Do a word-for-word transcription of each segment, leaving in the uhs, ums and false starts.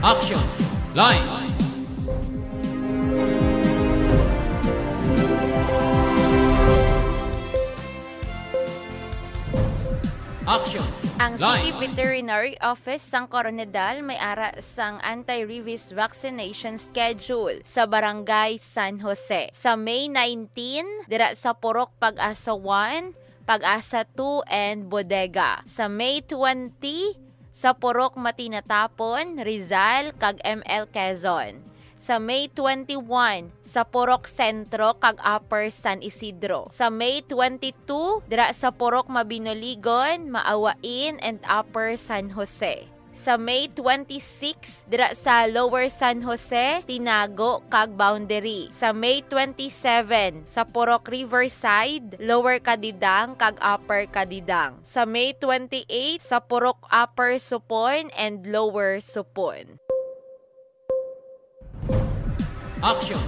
Action! Line! Action! Ang City Line! Veterinary Office sang Koronadal may ara sang anti-rabies vaccination schedule sa Barangay San Jose sa May nineteen, dira sa Purok Pag-asa one, Pag-asa two, and Bodega. Sa May twenty, sa Purok Matinatapon, Rizal, kag M L Quezon. Sa May twenty-one, sa Purok Sentro kag Upper San Isidro. Sa May twenty-two, dira sa Purok Mabinoligon, Maawain, and Upper San Jose. Sa May twenty-six, dira sa Lower San Jose, Tinago, kag Boundary. Sa May twenty-seven, sa Purok Riverside, Lower Cadidang, kag Upper Cadidang. Sa May twenty-eight, sa Purok Upper Supon and Lower Supon. Action!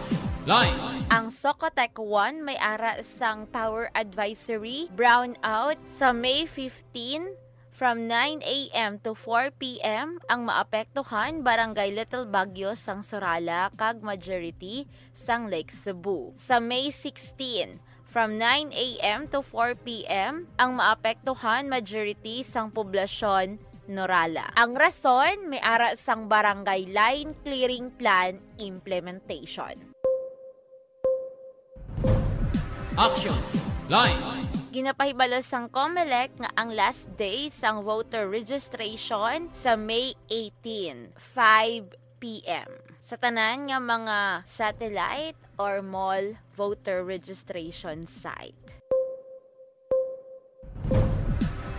Line! Ang Socotec one may ara sang power advisory brownout sa May fifteen, from nine a m to four p m. Ang maapektuhan, Barangay Little Baguio sang Surala kag majority sang Lake Cebu. Sa May sixteen, from nine a m to four p m, ang maapektuhan, majority sang poblasyon, Norala. Ang rason, may ara sang Barangay Line Clearing Plan implementation. Action! Line! Ginapahibalo sang Comelec nga ang last day sang voter registration sa May eighteen, five p m. Sa tanan nga mga satellite or mall voter registration site.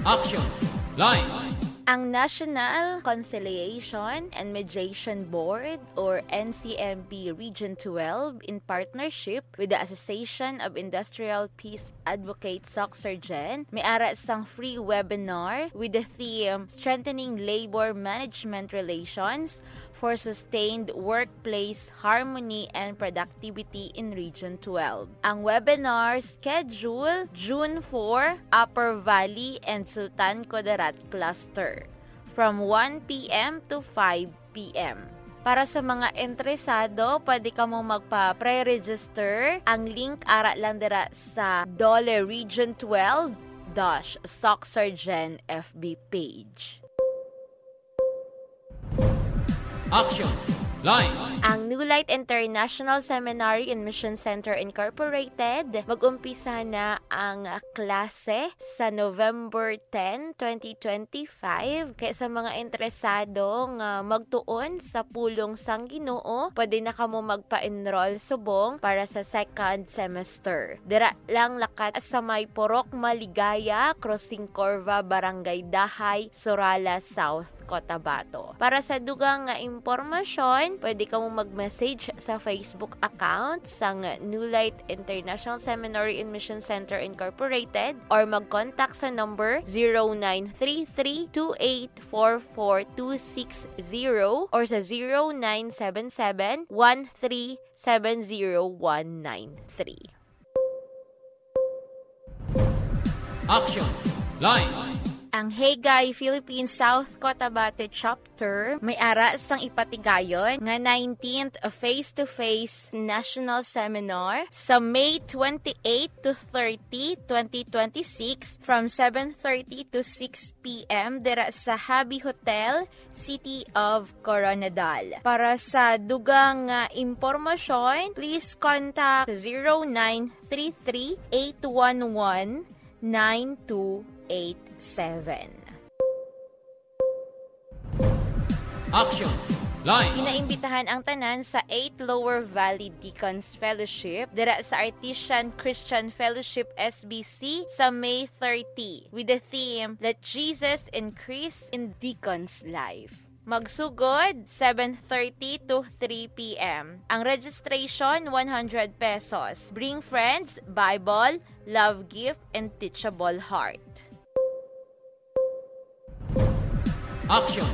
Action! Line! Ang National Conciliation and Mediation Board or N C M B Region twelve, in partnership with the Association of Industrial Peace Advocates, SOCSARGEN, may ara sang free webinar with the theme Strengthening Labor Management Relations for Sustained Workplace Harmony and Productivity in Region twelve. Ang webinar schedule June four, Upper Valley and Sultan Kudarat Cluster, from one p m to five p m. Para sa mga interesado, pwede kamo magpa-pre-register. Ang link ara lang dira sa DOLE Region twelve dash SOCSARGEN F B page. Action! Line! Ang New Light International Seminary and Mission Center Incorporated, mag-umpisa na ang klase sa November ten, twenty twenty-five. Kaya sa mga interesado nga magtuon sa pulong sang Ginoo, pwede na kamo magpa-enroll subong para sa second semester. Dira lang lakat sa may Purok Maligaya, Crossing Corva, Barangay Dahay, Surala South, Cotabato. Para sa dugang nga impormasyon, pwede kamo mag-message sa Facebook account sang New Light International Seminary and Mission Center Incorporated or mag-contact sa number zero nine three three two eight four four two six zero or sa zero nine seven seven one three seven zero one nine three. Action! Line! Ang Hagay Philippine South Cotabato Chapter may ara sang ipatigayon nga nineteenth Face-to-Face National Seminar sa May twenty-eight to thirty, twenty twenty-six, from seven thirty to six p m dira sa Habi Hotel, City of Koronadal. Para sa dugang nga impormasyon, please contact zero nine three three eight one one nine two eight seven. Action! Line! Ginaimbitahan ang tanan sa eighth Lower Valley Deacons Fellowship dira sa Artesian Christian Fellowship, S B C, sa May thirty, with the theme, Let Jesus Increase in Deacon's Life. Magsugod, seven thirty to three p m. Ang registration, one hundred pesos. Bring friends, Bible, love gift, and teachable heart. Action!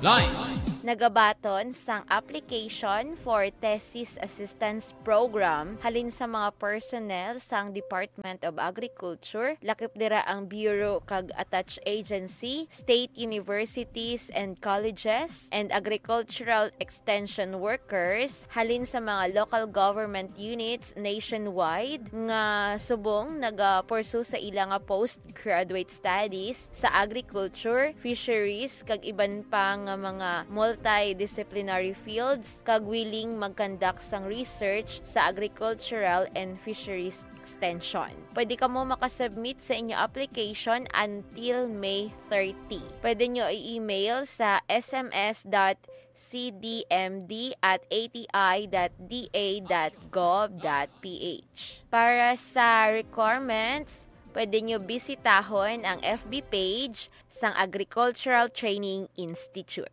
Line! nagabaton sang application for thesis assistance program halin sa mga personnel sang Department of Agriculture, lakip dira ang bureau kag attached agency, state universities and colleges, and agricultural extension workers halin sa mga local government units nationwide nga subong nagapursu sa ila nga postgraduate studies sa agriculture, fisheries, kag iban pa nga mga multidisciplinary fields, kag willing mag-conduct sang research sa agricultural and fisheries extension. Pwede kamo makasubmit sa inyo application until May thirty. Pwede nyo i-email sa S M S dot C D M D at A T I dot D A dot gov dot P H. Para sa requirements, pwede nyo bisitahon ang F B page sang Agricultural Training Institute.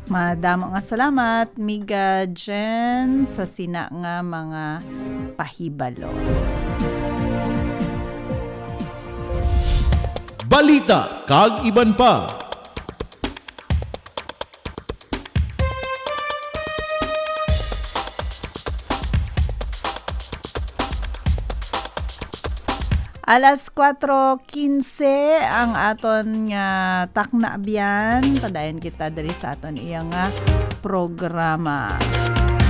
Madamo nga salamat, Miga Jen, sa sina nga mga pahibalo. Balita kag iban pa. Alas kuwatro kinse ang aton nga takna, biyan. Padayon kita diri sa aton iya nga programa.